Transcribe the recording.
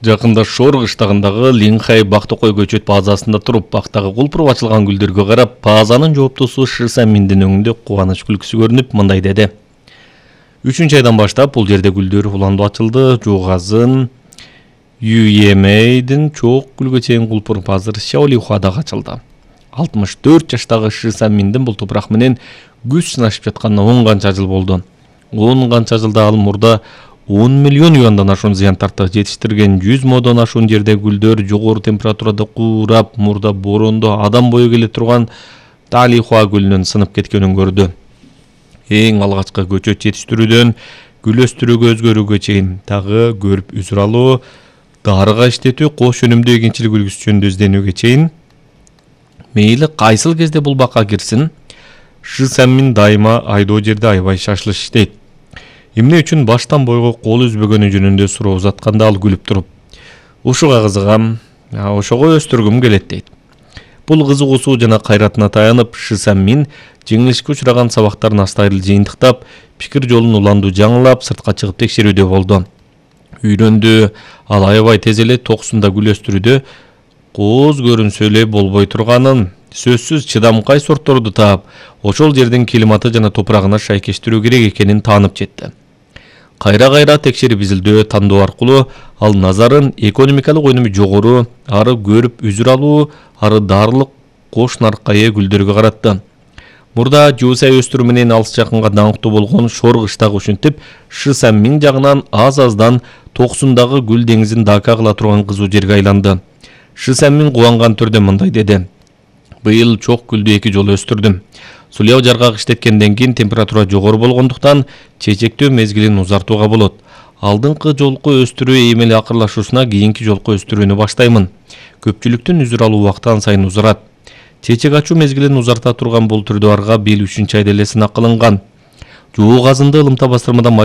Жакында Шор кыштагындагы Линхай Бактыкой көчөт базасында туруп, бактагы кулпуруп ачылган гүлдөргө карап, базанын жооптусу Шы Саминдин өңүндө кубаныч күлкүсү көрүнүп, мындай деди. 3-айдан баштап бул жерде гүлдөр уландуу ачылды. Жугазын, Юемейдин чоок гүлгө чейин кулпуруп азыр Шаолихуадагы ачылды. 64 жаштагы Шы Саминдин бул топурак менен күч сынашып жатканына 10 канча жыл болду. 10 канча жылда ал мурда 10 миллион юандан ашуун зыян тартты. Жетиштирген 100 модон ашуун жерде гүлдөр жогору температурада куурап, мурда борондо адам бою келе турган Талихуа гүлүнүн сынып кеткенин көрдү. Эң алгачкы көчөт жетиштирүүдөн гүл өстүрүүгө өзгөрүүгө чейин дагы көрүп үзүр алуу, дарыга иштетүү, кош өнүмдүү эгинчилик үлгүсү жөнүндө изденүүгө чейин мейли кайсыл кезде бул бакка кирсин, Шы Самин дайыма айдоо жерде аябай шашылыш иштейт. Эмне үчүн баштан бойго кол үзбөгөнү жөнүндө суроо узатканда ал күлүп туруп, ушуга кызыгам, ошого өстүргүм келет дейт. Бул кызыгуусу жана кайратына таянып, Шы Самин жеңилишке учураган сабактарын астайыл жыйынтыктап, пикир жолун уландуу жаңылап, сыртка чыгып текшерүүдө болду. Үйрөндү, ал аябай тез эле 90 гүл өстүрүүдө кооз көрүнсө эле болбой турганын, сөзсүз чыдамкай сортторду таап, ошол жердин климаты жана топурагына шайкештирүү керек экенин таанып жетти. Кайра текшерип изилдөө, тандоо аркылуу ал назарын экономикалык өнүмү жогору, ары көрүп үзүр алуу, ары дарылык кош нарыкка ээ гүлдөргө каратты. Мурда жуусай өстүрүү менен алыс жакынга даңктуу болгон Шор кыштагы ушинтип Шы Самин жагынан аз-аздан 90 гүл деңизин дака кыла турган кызуу жерге айланды. Шы Самин кубанган түрдө мындай деди. Быйыл чок гүлдү 2 жолу өстүрдүм. Суляу жаргак иштеткенден кийин температура жогору болгондуктан чечектөө мезгилин узартууга болот. Алдыңкы жолку өстүрүү эми эле акырлашуусуна кийинки жолку өстүрүүнү баштаймын. Көпчүлүктүн үзүр алуу убактан сайын узарат. Чечек ачуу мезгилин узарта турган бул түрдө арга быйыл 3-айда эле сынак кылынган. Жугазында ылымта бастырмадан